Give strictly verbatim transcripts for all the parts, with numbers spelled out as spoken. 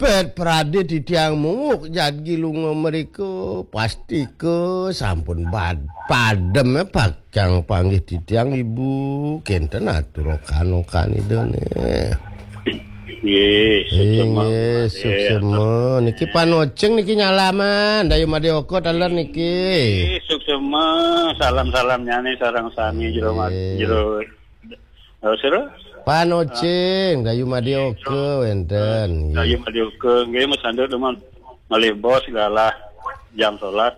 Pet pradé titiang munguk jagi lunga mrika, pastika sampun bad-, padem, eh, pakang panggih titiang, Ibu. Kénten atur okan-okan Idané. Nggih, suksema. Inggih, suksema. Niki panocing niki nyalaman, Dayu Madé Oka taler niki. Nggih, suksema. Salam-salamnyané sareng sami jero ma-, Nggih. jero Oh, sira? Panocing, Dayu Madé Oka wénten. Dayu Madé Oka, nggih, masandut dumun malih bos galah jam sebelas.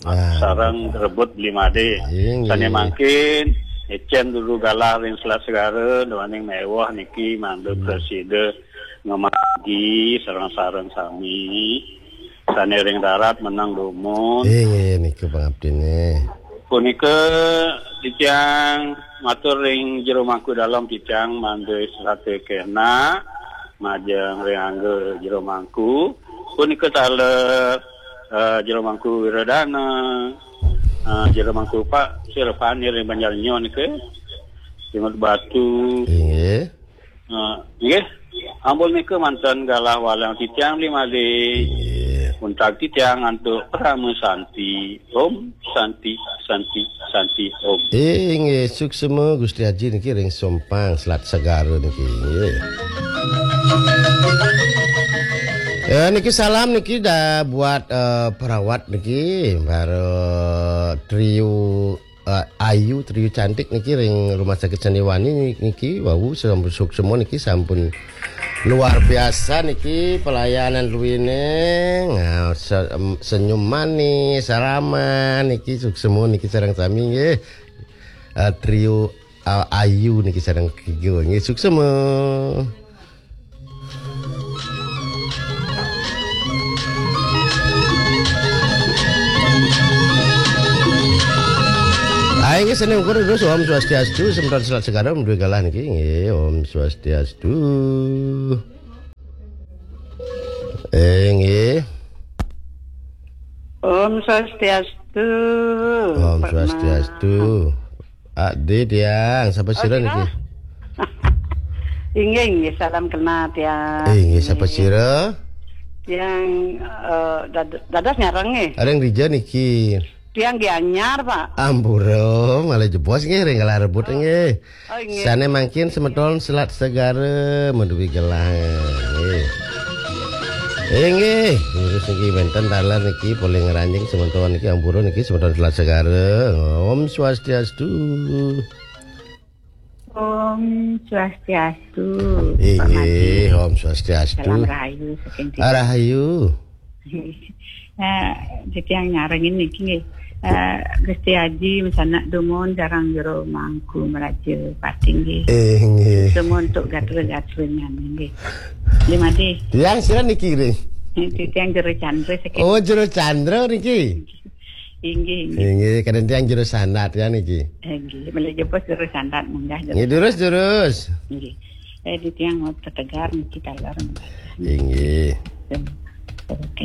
Ah. Sareng rebut beli madé. Inggih. Sané mangkin, écén dulu galah ring Selat Segara, duaning méweh niki mangda Hmm. prasida ngamargi sareng-sareng sami. Sané ring darat menang dumun. Inggih, nika pangabdiné. Punika titiang matur ring Jero Mangku Dalem, titiang mangda sesate kénak majeng ring angga Jero Mangku. Punika taler, eh, Jero Mangku Wiradana, eh, Jero Mangku Pak Sirapani ring Banjar Nyo nika, Jenggot Batu. Inggih. Eh, nggih, ampun nika manten galah walang titiang beli malih. Nggih. Untag titiang antuk Parama Santi. Om Santi, Santi, Santi, Om. Inggih, suksema Gusti Aji niki ring Sompang, Selat Segara niki. Nggih. Ya, niki salam niki dah buat, eh, perawat niki, para trio, eh, Ayu, trio cantik niki ring Rumah Sakit Sandiwani niki, wau sampun suksema niki sampun luar biasa niki pelayanan rumiyin. Nah, se-, em, senyum manis, ramah niki suksema niki sareng sami nggih. Eh, trio, eh, Ayu niki sareng Kigo nggih suksema. Ayo, nggih, seni ukur terus, Om Swastiastu, semeton Selat Segara, duwe galah niki, nggih, Om Swastiastu. Eh, nggih. Om Swastiastu. Om Pak Swastiastu. Mas. Adi tiang, sapa sira niki? Inggih, inggih, salam kenal tiang. Eh, inggih, sapa sira? Tiang, eh, dad-, dados nyareng nggih. Areng dija niki. Tiang Gianyar, Pak. Ampura, malah jebos nggih, ring galah rebut nggih. Oh, inggih. Sane mangkin semeton Selat Segara maduwi gelah nggih. Inggih, terus niki wenten taler niki polih ngranjing semeton niki ampura niki semeton Selat Segara. Om Swastiastu. Om Swastiastu, Pak Inggih, Madi. Om Swastiastu. Salam rahayu saking Ah, rahayu. Nah, titiang nyarengin niki nggih. Eh, Gusti Aji masanak dumun sareng Jero Mangku Meraja Pati nggih. Eh, nggih. Semua untuk gatra-gatra nggih. Nggih, Madi. Tiang sira niki nggih? Titiang Jero Chandra saking Oh, Jero Chandra niki. Inggih, inggih. Inggih, kadang tiang Jero Sandat ya niki. Inggih, malih jebos Jero Sandat munggah Jero Nggih, durus, Sandat. Durus. Inggih. Eh, titiang mau tetegar niki taler. Inggih. Oke,